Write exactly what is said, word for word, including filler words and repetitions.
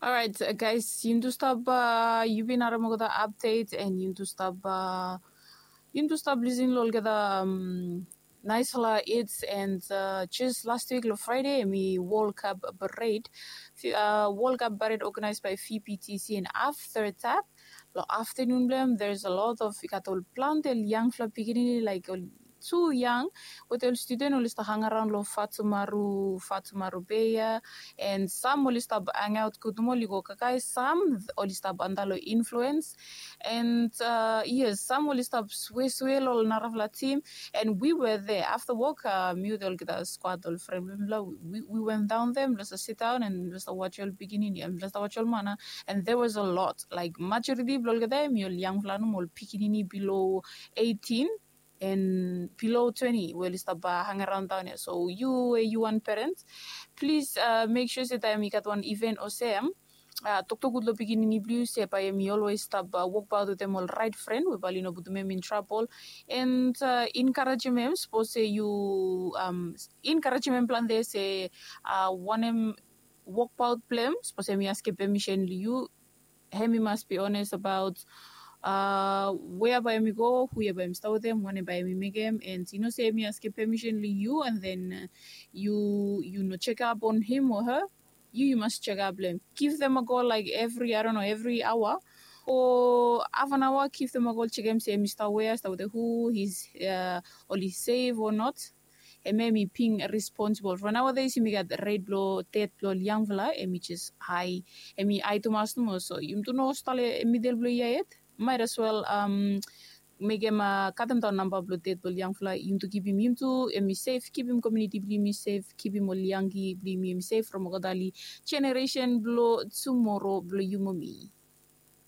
Alright, guys, yumi tu stap uh, yu bin harim olgeta update and yumi tu stap uh, yumi tu stap lisin long olgeta um, naisfala its and uh, just last week long Friday mi World Cup parade. Uh, World Cup parade organized by V P T C and after that long afternoon blem there's a lot of i gat ol planti ol yangfala pikinini like ol tu yang wetem ol student oli stap hang around long Fatumaru Fatumaru Bay ia and sam oli stap hang out kudumol i go kakai sam oli stap anda long influence and uh, yes sam oli stap sweswe long narafala team and we were there after work uh, mi wetem olgeta squad ol friend blong mifala we, we went down there mifala stap sit down and mifala stap watch ol pikinini and mifala stap watch ol mana and there was a lot like majority blong olgeta mi ol yangfala nomo ol pikinini below eighteen and below twenty we oli stap uh, hang around down here so you we you wan parent please uh, make sure se taem i gat wan event olsem uh, toktok gud long pikinini blong yu se bae mi always stap uh, wokbaot wetem ol right friend we bae oli no putum em in trouble and uh, encouragem em sapos se yu um, encouragem em plante se uh, wanem wokbaot blong em sapos em i askem permission long yu hem i mas be honest about uh, wea bae em i go hu ia bae em i stap wetem wanem bae em i mekem and i no se em i askem permission long yu and then uh, you you no check up on him or her you you must check up blong em give them a call like every I don't know every hour or half an hour give them a call check em se em i stap wea stap wetem hu he's uh, oli safe or not em em i being responsible for nowadays yumi gat rate blong death blong ol yangfala em i just high em i high tumas nomo so yumi tu no stap long middle blong ia yet might as well um, mekem uh, katem daon namba blong death blong ol yangfala yumi tu kipim yumi tu em i safe kipim community blong yumi safe kipim ol yangki blong yumi em i safe from olgeta ol generation blong tomorrow blong yu mo mi